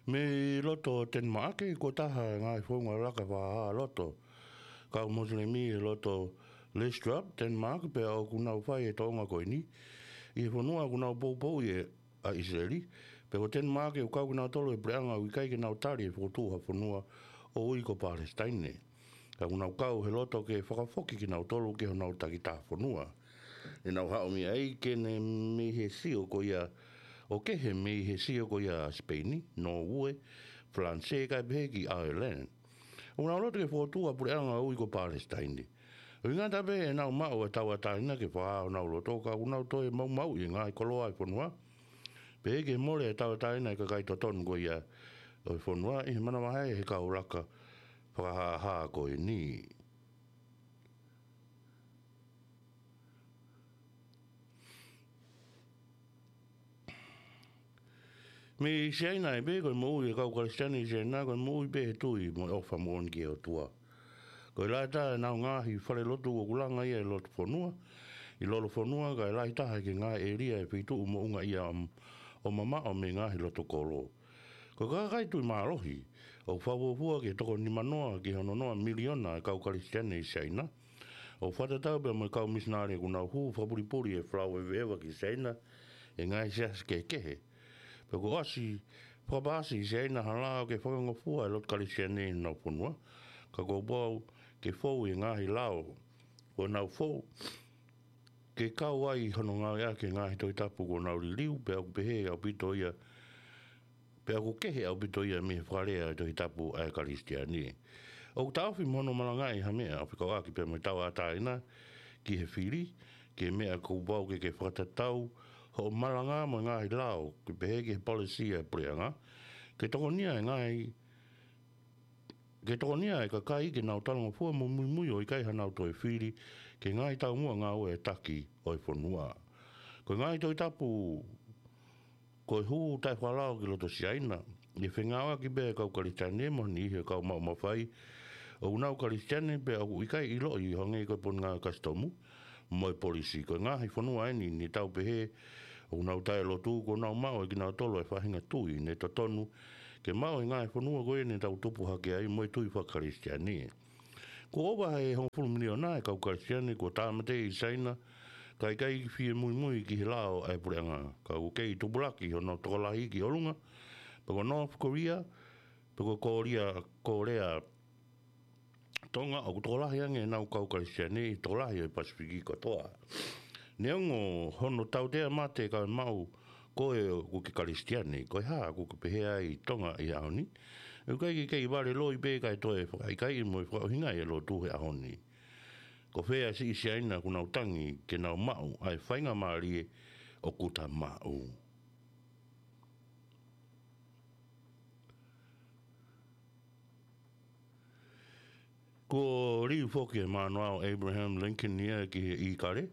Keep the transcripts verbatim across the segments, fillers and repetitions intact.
Mei loto Tenimaʻake, ko e taha e ngaahi founga laka fakahā loto kau Mosilemi ʻi loto Lystrup, Tenimaʻake, pea ʻoku nau fai e toʻonga ko eni ʻi he fonua ʻoku nau poupouʻi ʻe ʻa ʻIsileli, pea ko Tenimaʻake ʻoku kau kinautolu he puleʻanga ʻoku ʻikai ke nau tali e fokotuʻu ha fonua ʻo ui ko Palesitaine. Ka ʻoku nau kau he loto ke fakafoki kinautolu ki honau takitaha fonua. Ne nau haʻu mei ai ke ne mei he sio ko ia, ʻo kehe mei he sio ko ia ʻa Sipeini, Nōue, Falanisē, kae pehē ki ʻAoelani. ʻOku nau loto ke fokotuʻu ha puleʻanga ʻo ui ko Palesitaine. ʻOku ʻikai ngata pē ʻenau maʻu e tauʻatāina ke fakahā honau loto, ka ʻoku nau toe maumauʻi e ngaahi koloa ʻo e fonua, pehē ki he mole e tauʻatāina e kakai totonu ko ia ʻo e fonua ʻi he manavahē he kau laka fakahāhā ko eni. Mei Siaina ai pē, ko e moʻui e kau Kalisitiane ʻi Siaina, ko e moʻui pē he tui mo e ʻofa moʻoni ki he ʻOtua. Ko e lahi taha ʻenau ngaahi falelotu ʻoku langa ia ʻi loto fonua, ʻi lolofonua, kae lahi taha ki he ngaahi ʻēlia ʻi he feituʻu moʻunga ia ʻo, ʻo mamaʻo mei he ngaahi loto kolo. Ko e kakai tui mālohi, ʻoku fakafuofua ki he toko nimanoa ki he ononoa miliona e kau Kalisitiane ʻi Siaina. ʻOku fakatatau pea mo e kau misinale ʻoku nau hū fakapulipuli e folau eveeva ki Siaina ʻe he ngaahi siasi kehekehe. Pea kuo ʻosi fakapaasi ʻe Siaina ha lao ke fakangofua e lotu Kalisitiane ʻi honau fonua, ka kuo pau ke fou e ngaahi lao kuo nau fou ke kau ai hono ngāueʻaki e ngaahi Tohi Tapu kuo nau liliu, pea ʻoku pehē ʻaupito ia, pea ʻoku kehe ʻaupito ia mei he fakalea e Tohi Tapu ʻa e Kalisitiane. ʻOku taʻofi mo hono malangaʻi ha meʻa ʻo fekauʻaki pea mo e tauʻatāina ki he fili, ki he meʻa kuo pau ke ke fakatatau hoʻo malanga mo e ngaahi lao, ke pehē ki he polisi ʻa e puleʻanga, ke tokonia e ngaahi ke tokonia e kakai ke nau talangofua mo muimui ʻo ʻikai haʻanau toe fili ki he ngaahi taumuʻa ngāue ʻa e taki ʻo e fonua. Ko e ngaahi Tohi Tapu ko e hū taʻefakalao ki loto Siaina, ʻi he fengāueʻaki pē ʻa e kau Kalisitiane mo e niʻihi ʻo e kau maʻu mafai ʻoku nau Kalisitiane pea ʻoku ʻikai ʻiloʻi ʻo hangē ko e pononga kasitomu mo e polisi. Ko e ngaahi fonua eni ne tau pehē ʻoku nau taʻelotu, kuo nau maʻu ʻe kinautolu e faʻahinga tui ne totonu ke maʻu ʻe he ngaahi fonua ko ia ne tau tupu hake ai mo e tui faka-Kalisitiane. Kuo ʻova he hongofulu miliona e kau Kalisitiane kuo tāmateʻi ʻi Siaina, kae ʻikai fie muimui ki he lao ʻa e puleʻanga. Ka ʻoku kei tupulaki hono tokolahi ki ʻolunga, pea ko North Korea, pea ko Korea, Korea Tonga, ʻoku tokolahi ange ʻenau kau Kalisitiane ʻi he tokolahi ʻo e Pasifiki kotoa. Neongo hono tautea mate kae maʻu koe ʻoku ke Kalisitiane, ko e hā ʻoku ke pehē ai ʻi Tonga ʻi he ʻaho ni? ʻOku ʻikai ke kei vale loi pē kae toe fakaʻikaiʻi mo e fakaʻuhingaʻi e lotu he ʻaho ni. Ko fē ʻa e siʻi Siaina ʻoku nau tangi ke nau maʻu ʻa e faingamālie ʻoku ta maʻu? Kuo liliu foki e mānoa ʻo Abraham Lincoln ia ki he ʻīkale.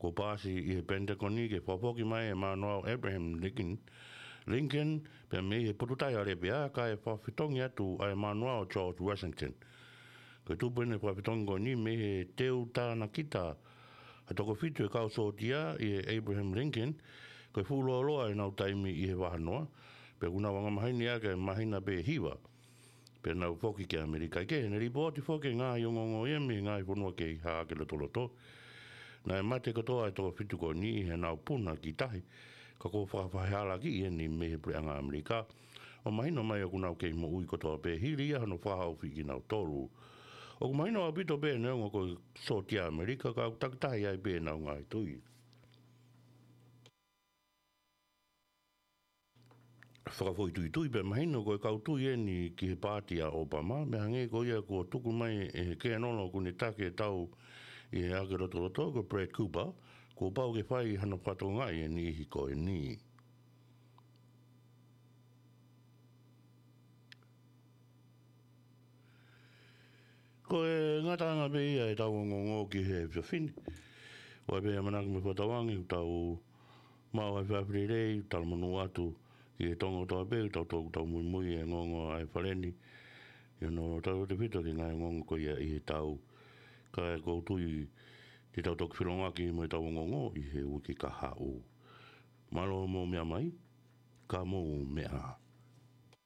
Kuo paasi ʻi he Penitakoni ke fakafoki mai e mānoa ʻo Abraham Lincoln, Lincoln, pea mei he potutai ʻa Lepea, kae fakafetongi atu ʻa e mānoa ʻo George Washington. Ko e tupu eni e fakafetongi ko eni mei he teu tānakita ha toko fitu e kau sōtia ʻi he Abraham Lincoln, ko e fuʻu lōloa ʻenau taimi ʻi he vahanoa, pea kuo nau angamaheni ʻaki e māhina pē ʻe hiva pea nau foki ki ʻAmelika. ʻIkai ke ne lipooti foki e ngaahi ongoongo ia mei he ngaahi fonua kehe ʻi he lotoloto. Naʻe mate kotoa e toko fitu ko eni ʻi heʻenau puna ki tahi, ka kuo fakafehālaaki eni mei he puleʻanga ʻAmelika, ʻo mahino mai ʻoku nau kei moʻui kotoa pē hili ia hono fakahaofi kinautolu. ʻOku mahino ʻaupito pē neongo ko e sōtia ʻAmelika, ka ʻoku takitaha ai pē ʻenau ngaahi tui. Fakafoʻituitui pē mahino ko e kau tui eni ki he paati ʻa ʻOpama, mei hangē ko ia kuo tuku mai ʻe he kēnolo ʻoku ne taki e tau ʻi he ʻake lotoloto ko Brad Cooper, kuo pau ke fai hano fakatokangaʻi e niʻihi ko eni. Ko e ngataʻanga pē ia ʻetau ongoongo ki he efiafi ni. ʻOku ʻi ai pē ʻamanaki mo e fakatauange ʻoku tau maʻu ai e efiafi lelei, talamonū atu ki he Tonga kotoa pē, ʻoku tau, ʻoku tau muimui he ongoongo ʻa e Fale ni ʻi hono tautautefito ki he ngaahi ongoongo ko ia ʻi he tau. Kae ʻoku ou tui te tau toki felōngoaki mo ʻetau ongoongo ʻi he uike kahaʻu. Mālō hoʻomou meʻa mai, ka mou meʻa ā.